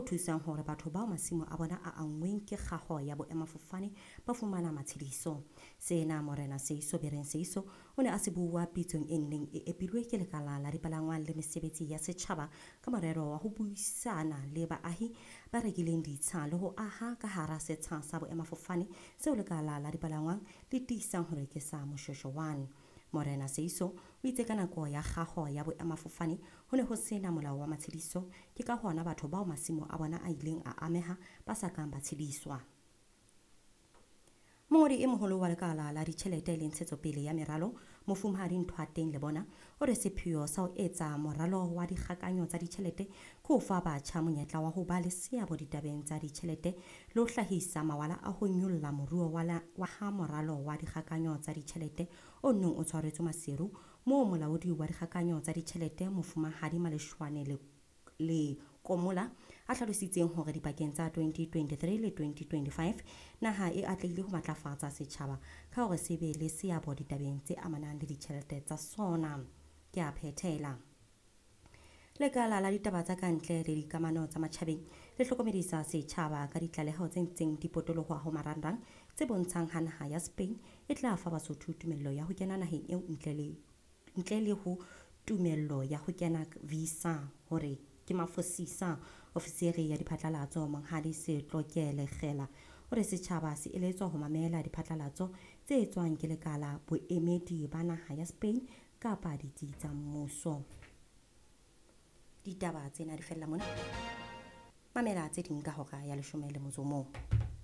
thusang hore batho bao masimo a bona a anngweng ke kgaho ya boemafofane ba fumana matshediso. Sena Morena Seiso Bereng Seiso o ne a se bua pitsong e neng e epilwe ke lekala la dipalangwang le mesebetsi ya setjhaba ka morero wa ho buisana le baahi ba rekileng ditsha le ho aha ka hara setsha sa boemafofane seo lekala la dipalangwang le tiisang hore ke sa Moshoeshoe 1. Morena Seiso o itse ka nako ya kgaho ya boemafofane ho ne ho sena molao wa matshediso, ke ka hona batho bao masimo a bona a ileng a ameha ba sa kang ba tshediswa. Mongodi e moholo wa lekala la ditjhelete le ntshetsopele ya meralo, Mofumahadi Nthoateng Lebona, o re sepheo sa ho etsa moralo wa dikgakanyo tsa ditjhelete ke ho fa batjha monyetla wa ho ba le seabo ditabeng tsa ditjhelete le ho hlahisa mawala a ho nyolla moruo wa ha moralo wa dikgakanyo tsa ditjhelete o neng o tshwaretswe Maseru, moo molaodi wa dikgakanyo tsa ditjhelete Mofumahadi Maleshwane le Komola a hlalositseng hore dipakeng tsa 2023 le 2025 naha e atlehile ho matlafatsa setjhaba ka hore se be le seabo ditabeng tse amanang le ditjhelete tsa sona. Ke a phethela. Lekala la ditaba tsa kantle le dikamano tsa matjhabeng le hlokomedisa setjhaba ka ditlaleho tse ntseng di potolohwa ho marangrang tse bontshang ha naha ya Spain e tla fa Basotho tumello ya ho kena naheng eo ntle le ho tumello ya ho kena visa hore ke mafosisa. Ofisiri ya diphatlalatso Monghadi Setloke Lekgela o re setjhaba se eletswa ho mamela diphatlalatso tse etswang ke lekala boemedi ba naha ya Spain kapa ditsi tsa mmuso. Ditaba tsena di fella mona. Mamela tse ding ka hora ya 11.